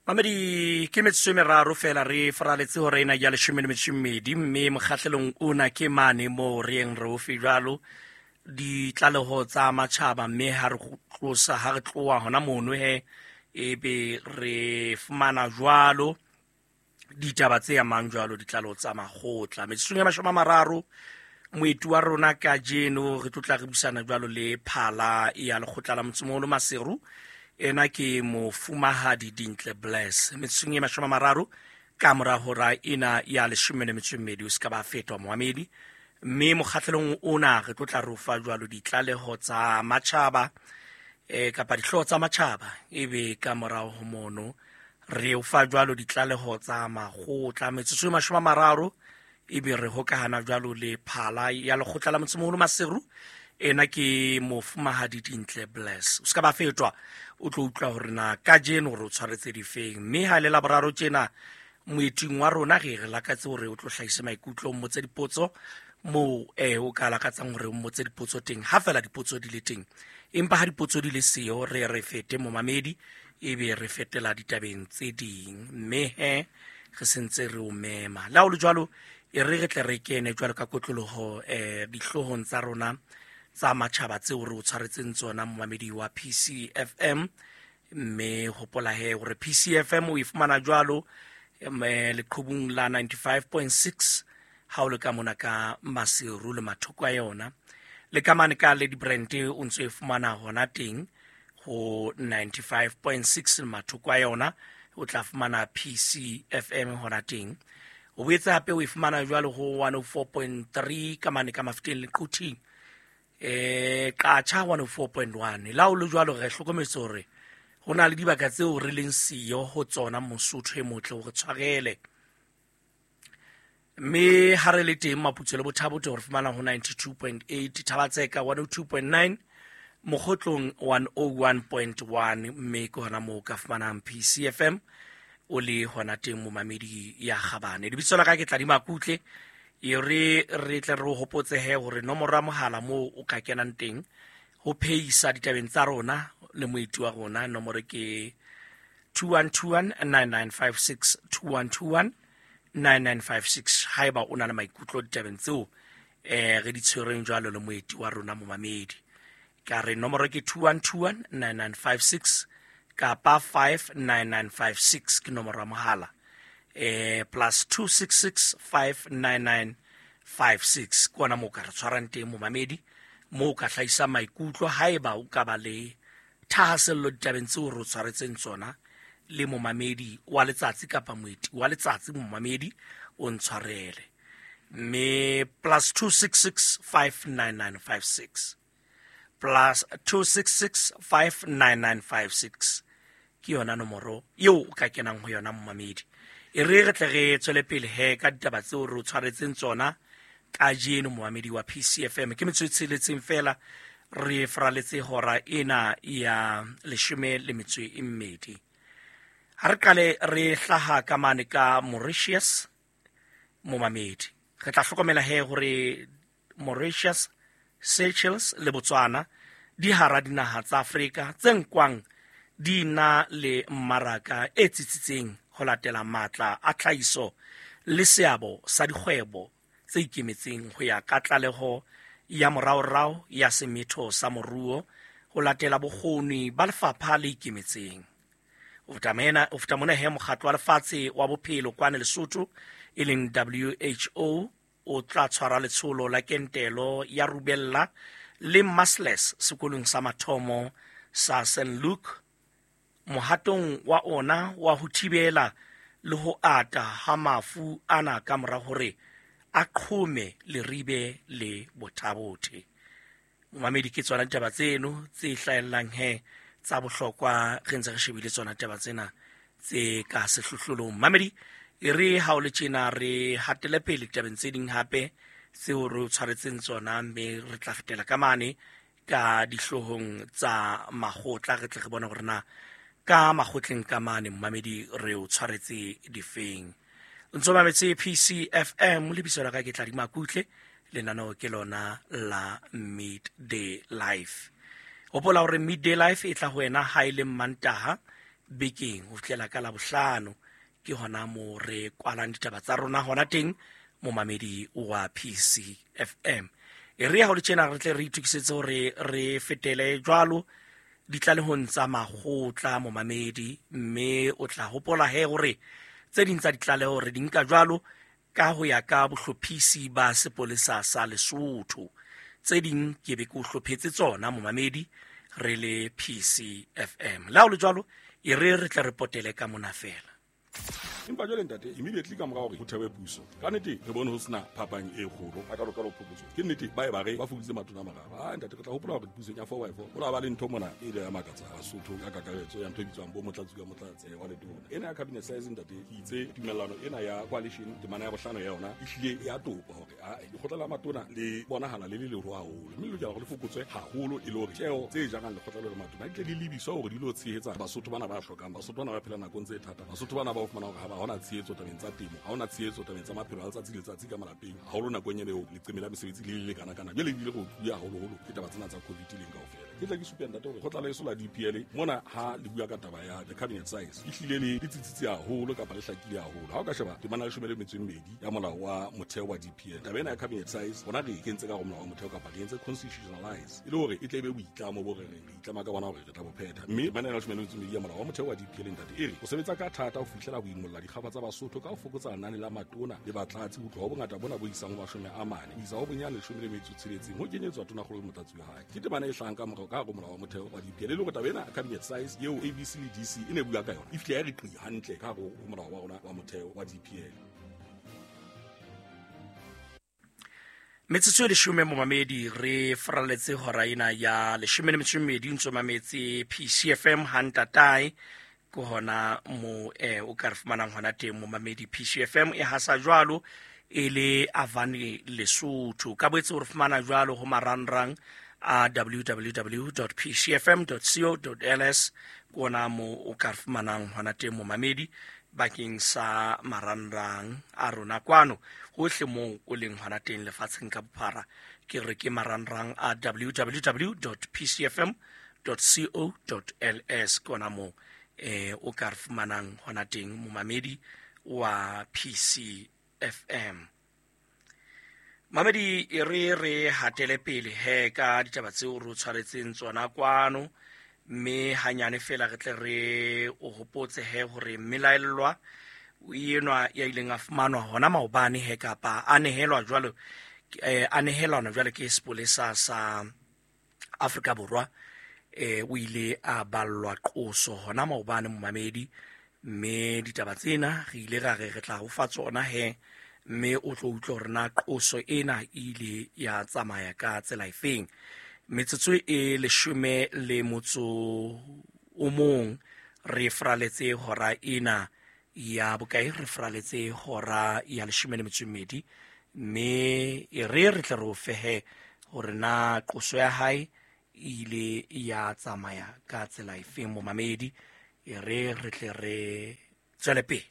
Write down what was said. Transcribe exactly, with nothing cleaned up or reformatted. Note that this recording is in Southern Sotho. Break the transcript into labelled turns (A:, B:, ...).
A: Mamedi, ke metsotso e meraro fela re faraletse hora ena ya leshome le metso e mmedi, mme mokgahlelong ona ke mane moo re yeng re o fe jwalo ditlaleho tsa matjhaba, mme ha re tlosa ha re tloha hona mono he ebe re fumana jwalo ditaba tse amang jwalo ditlaleho tsa makgotla. Metsotsong ya mashome a mararo moeti wa rona kajeno re tlo tla re buisana jwalo le phala ya lekgotla la motsemoholo Maseru. Ena ke mofumahadi Dintle Bless. Metsotsong e mashome a mararo ka mora hora ena ya leshome le metso e mmedi, o se ka ba fetwa moamedi. Mme mokgahlelong ona re tlo tla re o fa jwalo ditlaleho tsa matjhaba eh kapa dihlooho tsa matjhaba, ebe ka morao ho mono re o fa jwalo ditlaleho tsa makgotla. Metsotso e mashome a mararo ebe re hokahana jwalo le phala ya lekgotla la motsemoholo Maseru. Ena ke mofumahadi Dintle Bless. O se ka ba fetwa, o tlo utlwa hore na kajeno re o tshwaretse difeng. Mme ha le Laboraro tjena moeting wa rona re re lakatse hore o tlo hlahise maikutlo, o mmotse dipotso moo eh o ka lakatsang hore o mmotse dipotso teng, ha fela dipotso di le teng. Empa ha dipotso di le siyo re re fete momamedi, ebe re fetela ditabeng tse ding. Mme he re sentse re o mema. Le ha ho le jwalo, e re re tle re kene jwalo ka kotloloho eh dihloohong tsa rona tsa matjhaba tseo re o tshwaretseng tsona momamedi wa P C F M. Mme hopola he hore P C F M o e fumana jwalo leqhubung la ninety-five point six ha o le ka mona ka Maseru le mathoko a yona. Le ka mane ka Lady Brand o ntso e fumana hona teng ho ninety-five point six le mathoko a yona, o tla fumana P C F M hona teng. O boetse hape o e fumana jwalo ho one oh four point three ka mane ka Mafeteng le Quthing. Eh Qacha one oh four point one. La o le jwalo re hlokometse hore ho na le dibaka tseo re leng siyo ho tsona Mosotho e motle hore tshwarele. Mme ha re le teng Maputsoe le Bothabote re fumana ho ninety-two point eight, Thabatseka one oh two point nine, Mokgotlong one oh one point one, mme ke hona moo ka fumanang P C F M o le hona teng momamedi ya kgabane. Lebitso la ka ke Tladima Kutle. E re re tle re hopotse he hore nomoro ya mohala moo o ka kenang teng ho pheisa ditabeng tsa rona le moeti wa rona, nomoro ke two one two one nine nine five six, two one two one nine nine five six. Haeba o na le maikutlo ditabeng tseo eh re di tshwereng jwalo le moeti wa rona momamedi, ka re nomoro ke two one two one nine nine five six kapa five nine nine five six ke nomoro ya mohala. Eh plus two six six five nine nine five six ke ona moo ka re tshwarang teng momamedi, moo ka hlahisa maikutlo haeba o ka ba le thahasello ditabeng tseo re o tshwaretseng tsona le momamedi wa letsatsi kapa moeti wa letsatsi momamedi o ntshwarele. Mme plus two six six five nine nine five six, plus two six six five nine nine five six ke yona nomoro eo o ka kenang ho yona momamedi. E re re tle re tswele pele he ka ditaba tseo re o tshwaretseng tsona kajeno momamedi wa P C F M. Ke metsotso e tsheletseng fela re faraletse hora ena ya leshome le metso e mmedi. Ha re qale re hlaha ka mane ka Mauritius momamedi. Re tla hlokomela he hore Mauritius, Seychelles le Botswana di hara dinaha tsa Afrika tse nkwang di na le mmaraka e tsitsitseng ho latela matla a tlhahiso le seabo sa dikgwebo tse ikemetseng ho ya ka tlaleho ya moraorao ya semetho sa moruo ho latela bokgoni ba lefapha le ikemetseng. O feta mona he mokgatlo wa lefatshe wa bophelo kwana Lesotho e leng W H O o tla tshwara letsholo la kentelo ya rubella le measles sekolong sa mathomo sa Saint Luke mohatong wa ona wa ho thibela le ho ata ha mafu ana ka mora hore a qhome Leribe le Bothabothe. Momamedi, ke tsona ditaba tseno tse hlahellang he tsa bohlokwa, re ntse re shebile tsona ditaba tsena tse ka sehlohlolong. Mamedi, e re ha o le tjena re hatele pele ditabeng tse ding hape tseo re o tshwaretseng tsona, mme re tla fetela ka mane ka dihloohong tsa makgotla, re tle re bone hore na ka makgotleng ka mane momamedi re o tshwaretse difeng. Ntso mametse P C F M, lebitso la ka ke Tladima Kutle, lenaneo ke lona la Midday Life. Hopola hore Midday Life e tla ho wena ha e le Mantaha bekeng ho fihlela ka Labohlano ke hona mo re kwalang ditaba tsa rona hona teng momamedi wa P C F M. E re ha ho le tjena re tle re itokisetse hore re fetele jwalo ditlalehong tsa makgotla momamedi, mme o tla hopola he hore tse ding tsa ditlaleho re di nka jwalo ka ho ya ka bohlophisi ba sepolesa sa Lesotho. Tse ding ke be ke o hlophetse tsona momamedi re le P C F M. La ho le jwalo e re re tle re potele ka mona fela.
B: Empa jwale ntate immediately ka mora hore ho thewe puso ka nnete re bone ho sena phapang e kgolo a ka roka lo phokotso ke nnete ba e ba re ba fokoditse matona a mararo. Ah ntate re tla hopola hore pusong ya four by four ho la ba le ntho mona e ile ya makatsa Basotho ka kakaretso ya ntho e bitswang bo motlatsi ka motlatsi wa letona ena ya cabinet size ntate ke itse tumellano ena ya coalition temana ya bohlano ya yona e hlile ya topa hore a lekgotla la matona le bonahala le le leholo haholo mme le lokela hore le fokotswe haholo e le hore tjeo tse jarang lekgotla le matona di tle di lebiswa hore di lo tshehetsa Basotho bana ba hlokang, Basotho bana ba phela nakong tse thata, Basotho bana ba fumana hore ha ba hona tshehetso tabeng tsa temo, ha hona tshehetso tabeng tsa maphelo a letsatsi le letsatsi ka malapeng, haholo nakong eo leqeme la mesebetsi le le lekana kana jwale ebile go tluya haholoholo ke taba tsena tsa COVID leng kaofela. Ke tla ke supe ntate hore kgotla la eso la D P L mona ha le bua ka taba ya the cabinet size e hlile le le tsitsitse haholo kapa le hlakile haholo. Ha o ka sheba temana ya leshome le metso e mmedi ya molao wa motheo wa D P L, taba ena ya cabinet size rona re e kentse ka go molao wa motheo kapa re entse constitutionalize e le hore e tle e be boitlamo bo re reng re itlama ka bona hore re tla bo phetha. Mme temana ya leshome le metso e mmedi ya molao wa motheo wa D P L ntate e re o sebetsa ka thata ho fihlela ho imolla dikgaba tsa Basotho ka ho fokotsa lenane la matona le batlatsi ho tloha ho bongata bona bo isang ho mashome a mane ho isa ho bonyane leshome le metso e tsheletseng ho kenyetswa tonakgolo le motlatsi wa hae. Ke temana e hlahang ka morao ka hare ho molao wa motheo wa D P L e le hore taba ena cabinet size eo A B C le D C e ne bua ka yona e fihle ya re qi hantle ka hare ho molao wa rona wa motheo wa D P L.
A: Metsotso e leshome momamedi re faralletse hora ena ya leshome le metso e mmedi ntso mametse P C F M hantatae ke hona mo eh o ka re fumanang hona teng momamedi. P C F M e hasa jwalo e le Avane Lesotho ka boetse o re fumana jwalo ho marangrang a w w w dot p c f m dot co dot l s ke ona mo o ka re fumanang hona teng momamedi bakeng sa marangrang a rona kwano hohle moo o leng hona teng lefatsheng ka bophara. Ke re ke marangrang a w w w dot p c f m dot co dot l s ke ona moo eh o ka re fumanang hona teng momamedi wa P C F M. Mamedi e re re hatele pele he ka ditaba tseo re tshwaretseng tsona kwano, mme hanyane fela re tle re o hopotse he hore mmelaellwa enwa ya ileng a fumanwa hona maobane he kapa a nehelwa jwalo eh, a nehelwana jwalo ke sepolesa sa Afrika Borwa eh o ile a ballwa qoso hona maobane momamedi, mme ditaba tsena re ile ra re re tla ho fa tsona he mme o tlo utlwa hore na qoso ena e ile ya tsamaya ka tsela efeng. Metsotso e leshome le motso o mong re fraletse hora ena ya bokae, re fraletse hora ya leshome le metso e mmedi, mme e re re tle re o fehe hore na qoso ya hae e ile ya tsamaya ka tsela efeng momamedi. E re re tle re tswele pele.